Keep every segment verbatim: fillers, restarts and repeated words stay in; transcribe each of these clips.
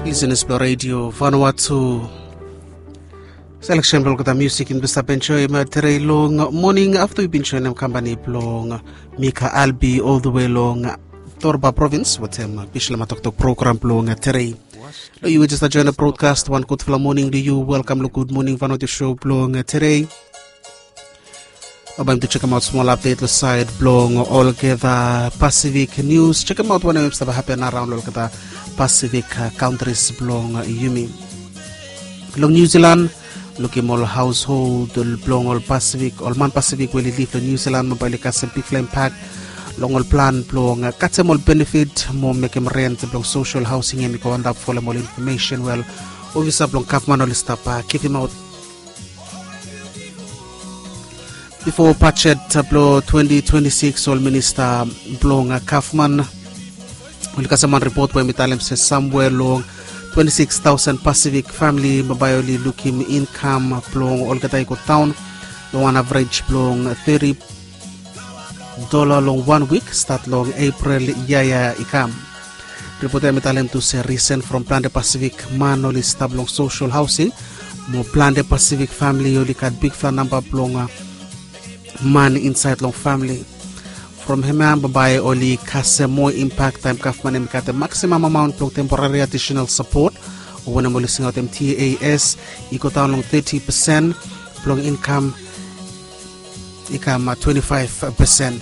Lisenas blong redio Vanuatu. Seleksen blong olgeta musik yumi bin stap enjoim tere long moning afta yumi bin joinim kampani blong Mika Albi ol the way long Torba provins wetem Bislama Toktok program blong tere. Long yu we jesta joinim brodkast, wan gudfala moning long yu. Welkam long Gud Moning Vanuatu show blong tere. Bambae yumi tu jekemaot smol apdet long saed blong olgeta Pasifik nius. Jekemaot wanem i stap hapen araon long olgeta Pasifik kantris blong yumi. Long Niu Silan, lukim ol haoshold blong ol Pasifik, ol man Pasifik we oli liv long Niu Silan, bambae oli kasem bigfala impak long ol plan blong katem ol benefit mo mekem rent blong sosel haosing hem i go antap folem ol infomesen we ol ofisa blong gavman oli stap givimaot. Bifo bajet blong twenti twenti sikis, ol minista blong gavman oli kasem wan ripot we hem i talem se samwe long twenti sikis taosen Pasifik famili bambae oli lukim inkam blong olgeta i go daon long wan avrej blong teti dola long wan wik stat long Epril yia ya i kam. Ripot ya hem i talem tu se risen from plante Pasifik man oli stap long sosel haosing mo plante Pasifik famili oli gat bigfala namba blong man insaed long famili. From hemia bambae oli kasem moa impak taem gavman hem i katem maksimam amaon blong temporari adisenal sapot o wanem oli singaotem tas i go daon long teti pesen blong inkam i kam twenti faef pesen.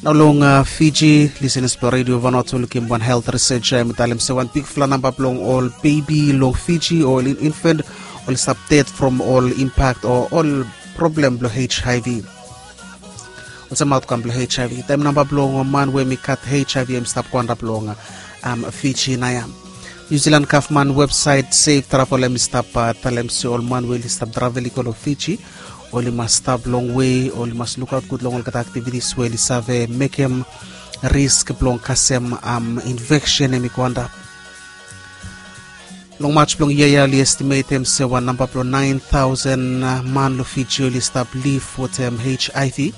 Nao long Fiji, lisenas blong redio Vanuatu, lukim wan helt risej ya hem i talem se wan bigfala namba blong ol bebi long Fiji o ol infan oli stap ded from ol impak o ol problem blong hiv. Olsem aotgam blong hiv taem namba blong man we hem i gat hiv hem i stap go antap long Fiji naoia. Niu Silan gavman websaet sef travel hem i stap talem se ol man we oli stap travel i go long Fiji oli mas stap longwe, oli mas lukaot gud long olgeta aktivitis we oli save mekem risk blong kasem infeksen hem i go antap. Long Maj blong yia ya oli estimetem se wan namba blong naen taosen man long Fiji oli stap liv wetem hiv.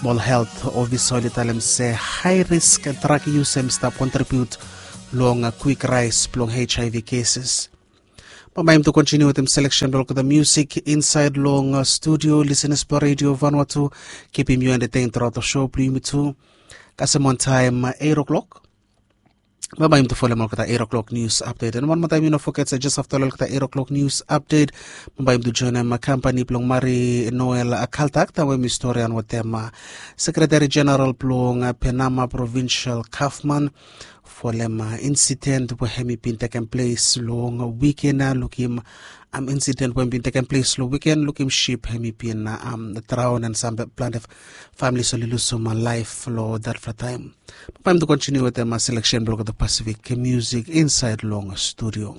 Mo ol helt ofisa oli talem se hae risk drag yus hem i stap kontribiut long kwik raes blong hiv keses. Bambae yumi tu kontiniu wetem seleksen blong olgeta musik insaed long studio. Lisenas blong redio Vanuatu, kipim yu entetein truaot long sho blong yumi tu. Kasem wantaem eit o'klok bambae yumi tu folem olgeta eit o'klok nius apdet. An wan moa taem yu no foget se jes afta long olgeta eit o'klok nius apdet bambae yumi tu joinim kampani blong Mari Noel Kaltak taem we hem i storian wetem sekretari jeneral blong Penama provinsel gavman folem insiden we hem i bin tekem ples long wiken ya. Lukim insiden we hem i bin tekem ples long wiken, lukim sip hem i bin draon an sam plante familis oli lusum laef long datfala taem. Bambae yumi tu kontiniu wetem seleksen blong olgeta Pasifik musik insaed long studio.